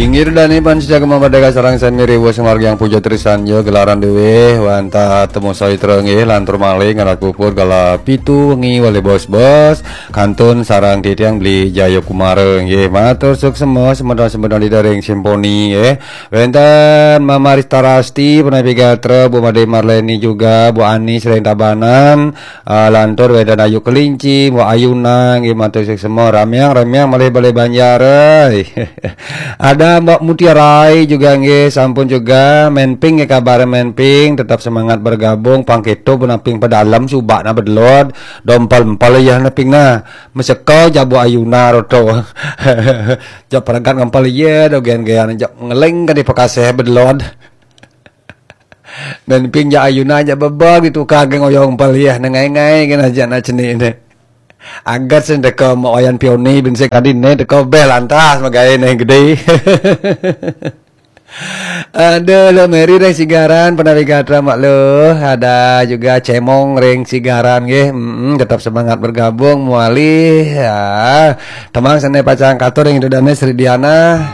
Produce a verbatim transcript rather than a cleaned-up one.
Inggih dane pan saja kemampadeka sareng sami riwuh sumargi yang puja trisanyo gelaran dewe wantah temu sawitra nggih lantur malih ngalah puput kala pitu wengi wali bos-bos kantun sareng titiang beli Jayakumara nggih matur suksema semeton-semeton di daring simponi nggih. Wenten Mama Rista Rasti, Penapi Gatra, Bu Made Marleni juga, Bu Ani sering Tabanan, ah, lantur wenten Ayu Kelinci, Bu Ayuna nggih matur suksema ramiang-ramiang malih balik Banjar. Ada Mbak Mutiarai juga nggih sampun juga menping nggih kabar menping tetap semangat bergabung pangketo pun aping pedalem subak na bedelod dompal-empal ya neping na meseka jabu ayuna roto. Jak peregat ngempal iya do gen-gen jak ngeling ka di Pekaseh bedelod. Menping jak ayuna jak bebag ditukar gen oyong empal iya nengai-ngai gen aja nak cenik ne. Agat sen deka mak wayan pioni bin sik tadi ne deka beh lantas magai ne gede. Ada lo Mary ring Sigaran, Penawi Gatra mak lo. Ada juga Cemong ring Sigaran nggih. Mm, tetap semangat bergabung muali. Ya. Temang sene pacang katur ring Indo Dane Sri Diana.